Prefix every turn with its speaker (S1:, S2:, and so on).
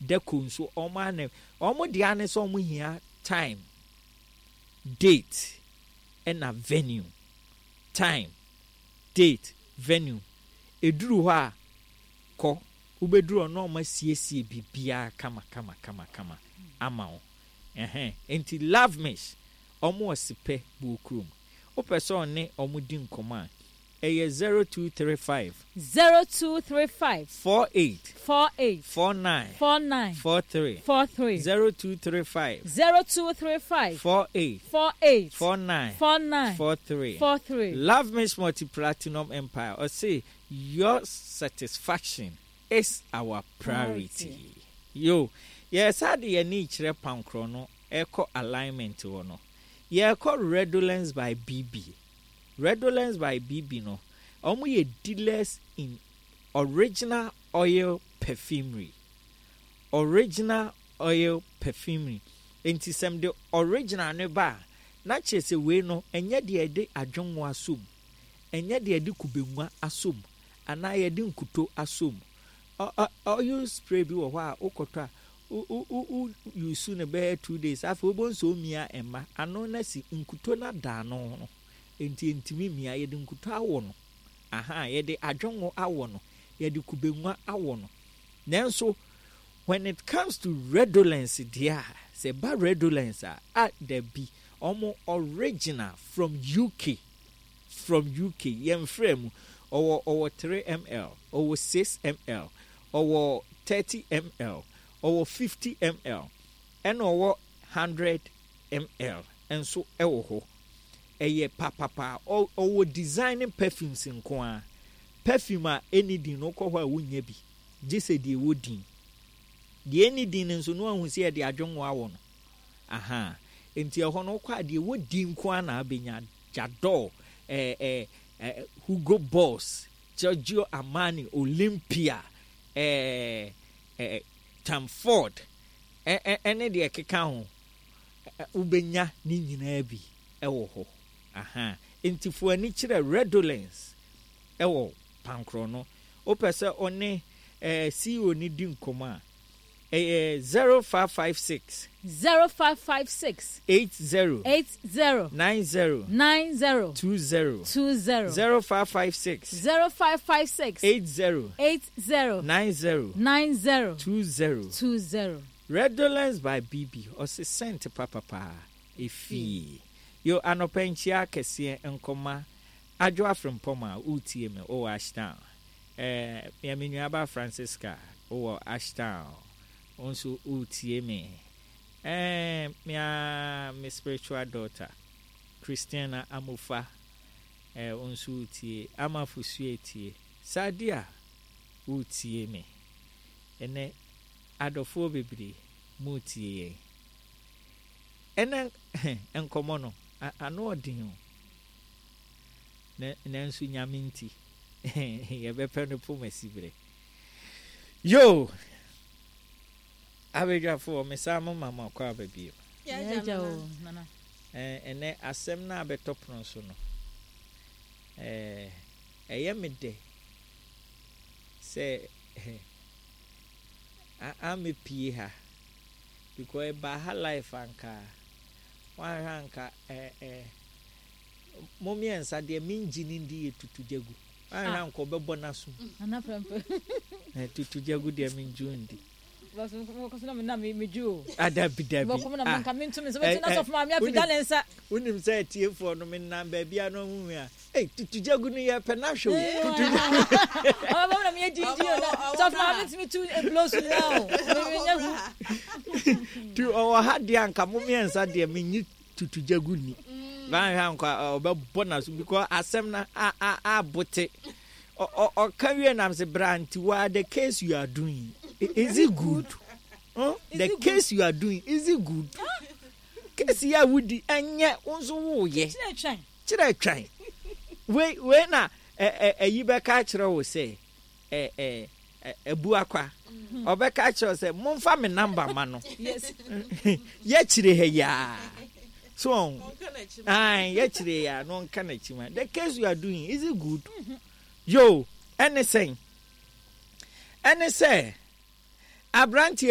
S1: Deco nso wɔn ara na wɔn deɛ ara ne sɛ wɔn hia time, date ɛna venue. Time, date, venue. Ɛduru hɔ a kɔ, wobɛduru hɔ na wɔn asiesie biribiara kama kama kama kama ama wo. Ɛhɛn, enti Love Mish, wɔn wɔ Sepɛ Buokurom. Wopɛ sɛ ɔne wɔn di nkɔmmɔ a, ɛyɛ 0235.
S2: 0235.
S1: 48.
S2: 48.
S1: 49.
S2: 49.
S1: 43.
S2: 43.
S1: 0235.
S2: 0235.
S1: 48.
S2: 48.
S1: 49.
S2: 49.
S1: 43.
S2: 43.
S1: Love Miss Multi Platinum Empire. Ɔse your satisfaction is our priority. Yo, yɛsa de yɛn ani kyerɛ pankorɔ no ɛkɔ alignment hɔ no. Yɛrekɔ Redolence by BB. Redolence by BB no, wɔn yɛ dealers in original oil perfumery. Original oil perfumery. Enti sɛ mede original no ba a, na kyerɛ sɛ wei no, ɛnyɛ deɛ yɛde adwennwo asɔ mu, ɛnyɛ deɛ yɛde kubengua asɔ mu, anaa yɛde nkuto asɔ mu. Oil spray bi wɔ hɔ a wokɔtɔ a, wo wo wo use no bɛyɛ 2 days, afei wobɛhu sɛ omia ɛma ano no asi, nkuto no ada ano no, enti ɛntumi mmia. Yɛde nkuto awɔ no, aha, yɛde adwongo awɔ no, yɛde kubengua awɔ no. Nanso when it comes to Redolence deɛ a, sɛ ɛba Redolence a, dabi, ɔmo original from UK, from UK, yɛmfrɛ mu. Ɔwɔ 3 ml, ɔwɔ 6 ml, ɔwɔ 30 ml, ɔwɔ 50 ml, ɛna ɔwɔ 100 ml nso ɛwɔ hɔ. Ɛyɛ papapa. Ɔwɔ designing perfumes nko ara. Perfume a ɛni din no, wokɔ hɔ a wonya bi, gye sɛ deɛ ɛwɔ din. Deɛ ɛni din no nso no, ahu sɛ yɛde adwongo awɔ no. Aha, nti ɛhɔ no wokɔ a, deɛ ɛwɔ din nko ara na abɛnya. J'adore, ɛɛ ɛɛ ɛɛ Hugo Boss, Giorgio Armani, Olympia, ɛɛ ɛɛ Tom Ford, ɛne deɛ ɛkeka ho, wobɛnya ne nyinaa bi ɛwɔ hɔ. Aha, nti fo ani kyerɛ Redolence ɛwɔ Pankorɔ no. Wopɛ sɛ ɔne CEO ne di nkɔmmɔ a, ɛyɛ 0556.
S2: 0556.
S1: 80.
S2: 80.
S1: 90.
S2: 90.
S1: 20.
S2: 20.
S1: 0556.
S2: 0556.
S1: 80.
S2: 80.
S1: 90.
S2: 90.
S1: 20.
S2: 20.
S1: Redolence by BB, ɔse scent papapaa efie. Yo, anɔpɛ nkyia kɛseɛ nkɔma Adwo Afrempɔm a wotie me wowɔ Ashtown. Mea me nuaba Francisca wowɔ Ashtown, wo nso wotie me. Mea me spiritual daughter Christiana Amofa, wo nso wotie. Ama Fosue tie. Sadia, wotie me. Ɛnɛ adɔfoɔ bebree mutie yɛn. Ɛnɛ nkɔmmɔ no ano ɔden o. Nanso Nyame nti yɛbɛpɛ no pom asiberɛ. Yo! Abadwafoɔ, mesan mo ma mo akɔ aba bio.
S2: Yɛagya o, Nana.
S1: Ɛnɛ asɛm no a bɛtɔ pono so no, ɛyɛ me dɛ sɛ amepie ha because ɛbaa ha life anka wanhwɛ anka mo mmiɛnsa deɛ mengye ne ndi yɛ Tutu Gyagu. Wanhwɛ anka ɔbɛbɔ n'asom.
S2: Nana Prɛmpɛ.
S1: Tutu Gyagu deɛ mengye wo ndi.
S2: Ah.
S1: Dabi dabi. Wonim sɛ atiefoɔ no menam baabi a no ahu a, ei, Tutu Gyagu no yɛpɛ no ahwɛ o, Tutu Gyagu.
S2: Ɔbɛbɔ na meyɛ gyingyin o, sɔfo maame tumi tu eblo so nyinaa o, menyɛ hu.
S1: Tu ɔwɔ ha deɛ anka mo mmiɛnsa deɛ menyi Tutu Gyagu ni. Wanhwɛ anka ɔbɛbɔ n'aso because asɛm no abote. Ɔka wie nam sɛ bra nti wa, the case you are doing, is it good? Huh? The case you are doing, is it good? Case yi a wodi ɛnyɛ wo nso woyɛ kyerɛ twɛn wei wei na ɛyi bɛka akyerɛ wo sɛ ɛ ɛ ɛbu akwa ɔbɛka akyerɛ wo sɛ momfa me number ma no yɛkyerɛ ha yaa so ɔn yɛkyerɛ yaa na ɔnka n'akyi ma. The case you are doing, is it good? Yo, ɛne sɛn? Ɛne sɛ aberanteɛ